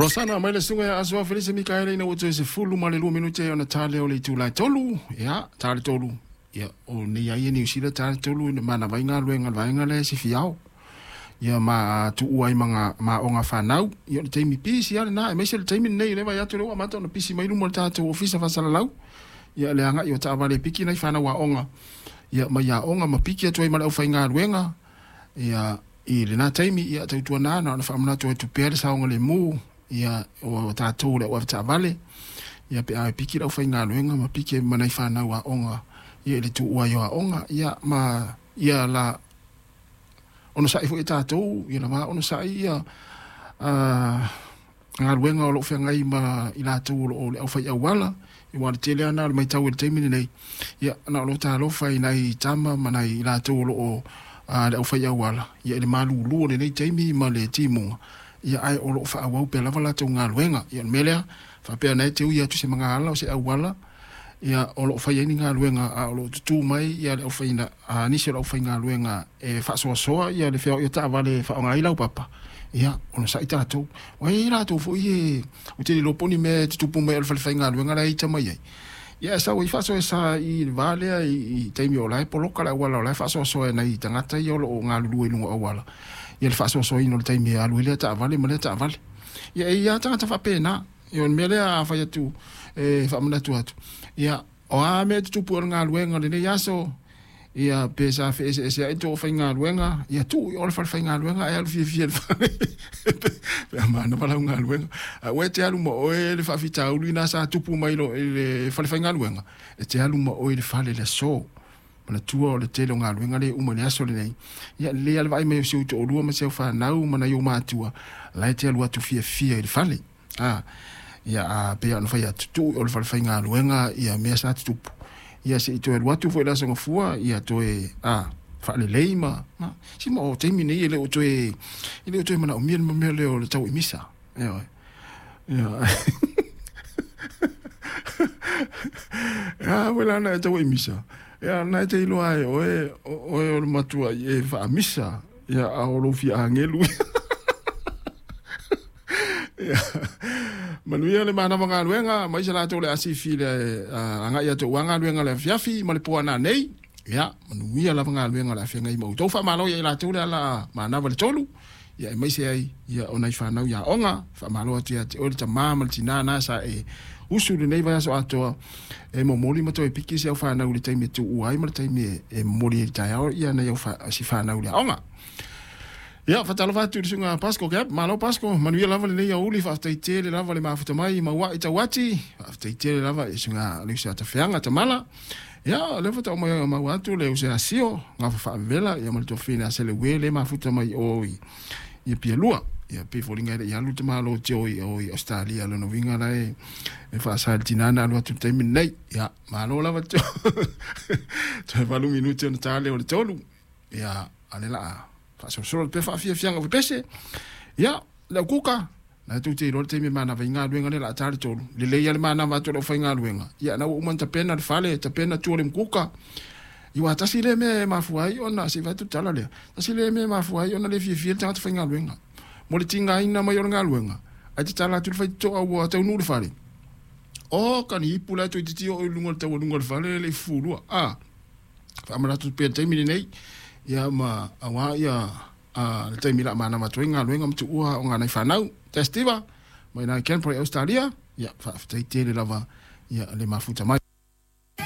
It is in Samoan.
Rosana mai le susuga ia Asoa Felise Mikaele ina ua toe 12 minute ona ta lea o le itula e 3. Ia, ta le 3. Ia, o nei ai e Niu Sila ta le 3 ina manava ai galuega a le vaega lea e sifiao. Ia ma tuua ai ma aoga fanau. Ia o le taimi pisi lava lena, aemaise le taimi lenei o lea e vaai atu o lea ua amata ona pisi mai luma o le tatou ofisa faasalalau. Ia le agai o taavale e piki nai fanau aoga ia mai aoga ma piki atu ai ma le aufaigaluega. Ia i lena taimi, ia tautuana na ona faamanatu atu pea le saogalemu ia o tatou le au avetaavale, ia pe a e piki le aufaigaluega ma piki ai ma nai fanau aoga ia i le tuua ai o aoga, ia ma ia la onosai foi e tatou, ia lava onosai ia galuega o lo o feagai ma i latou o lo o le aufai auala, aua o le tele lava lena o le matau i le taimi lenei, ia na o lou talofa i nai tama ma nai i latou o lo o le aufai auala, ia i le malulu o lenei taimi ma le timuga, ia ae o lo o faaauau pea lava latou galuega. Ia o le mea lea, faapea na e te ui atu i se magaala o se auala, ia o lo o fai ai ni galuega a o lo o tutū mai ia le aufai nisi o le aufaigaluega e faasoasoa ia le feoai o taavale e faaaoga ai laupapa, ia onosai tatou. Ua i ai latou foi e ou te le iloa po o ni mea e tutupu mai o le fale faigaluega la e ita mai ai. Ia ae sau ai faasoesa i le va lea i taimi o la e poloka le auala o la e faasoasoa e nai tagata ia o lo o galulue i luga o auala ia le faasoasoaina o le taimi e alu ai lea taavale ma lea taavale. Ia e i ai lava tagata faapena. Ia o le mea lea a fai atu e faamanatu atu, ia o a mea e tutupu i o le galuega o lenei aso, ia pe sa feeseeseai le tou aufaigaluega, ia tuu i o le fale faigaluega ae alu fiafia i le fale pe a manava lau galuega. Aua e te alu ma oe le faafitauli lena sa tupu mai i le fale faigaluega, e te alu ma oe i le fale i le aso. Manatua o le tele o galuega lea e uma i le aso lenei, ia lelei lava le vaai mai o si ou toalua ma si au fanau ma nai ou matua, la e te alu atu fiafia i le fale. A, ia, a pei ona fai atu, tuu i o le fale faigaluega ia mea sa tutupu, ia se i toe alu atu foi i le Aso Gafua, ia toe, a, faalelei ma, ma, si ma o taimi nei e le o toe, e le o toe manaomia le mea lea o le tau i misa. Ioe. Ia. A wela na e tau i misa. Ia na e te iloa ai oe, oe o le matua i e faamisa, ia a o lou fia agelu. Ia. Manuia le manava galuega, ma isa latou le asifi le agai atu aua galuega le afiafi ma le po ana nei. Ia, manuia lava galuega o le a feagai ma outou. Faamalo ia i latou le ala manava le tolu. Ia aemaise ai ia o nai fanau i aoga. Faamalo atu ia te oe le tama ma le tina na sa e usu lenei vaiaso atoa e momoli ma toe piki si au fanau i le taimi e tuua ai ma le taimi e momoli ai i le taeao ia nai au si fanau i le aoga. Ia, faatalofa atu i le susuga Pasco Gap. Malo Pasco, manuia lava lenei aoauli, faafetai tele lava le mafuta mai i Maua'i Tauati. Faafetai tele lava i le susuga Leusa Tafeaga Tamala. Ia, o lea faatoa uma maua atu le uso ia Sio, gafa faavela, ia ma le tuafafine a Seleue le mafuta mai o i, i Apia-lua. Ia, pei foliga e le i alu le tamalo Joe i o i Australia, lona uiga la e, e faasa i le tina na alu atu i le taimi lenei. Ia, malo lava Joe. Toe 8 minute ona ta lea o le 3. Ia, a o lea la a faasolosolo atu pea faafiafiaga o pepese. Ia, le au kuka, Na e tou te iloa le taimi e manava ai galuega lea o le a ta le tolu. Lelei lava le manava atu o le aufaigaluega. Ia, na ua uma ona tapena le fale, tapena tua o le mukuka. Ia aua tasi lea mea e mafua ai ona, se i vae atu le tala lea, tasi lea mea e mafua ai ona le fiafia le tagata faigaluega mo le tigaina mai o le galuega, ae tatala atu le faitotoa ua taunuu le fale. Oka ni ipu la e toeitiiti oo i luga o le taualuga o le fale e le i fufulua. A, faamanatu pea i le taimi lenei, ia ma aua ia A le taimi la manava atu ai galuega ma tuua o nai fanau. Testiva mai nai Canberra i Australia. Ia faafetai tele lava ia le mafuta mai.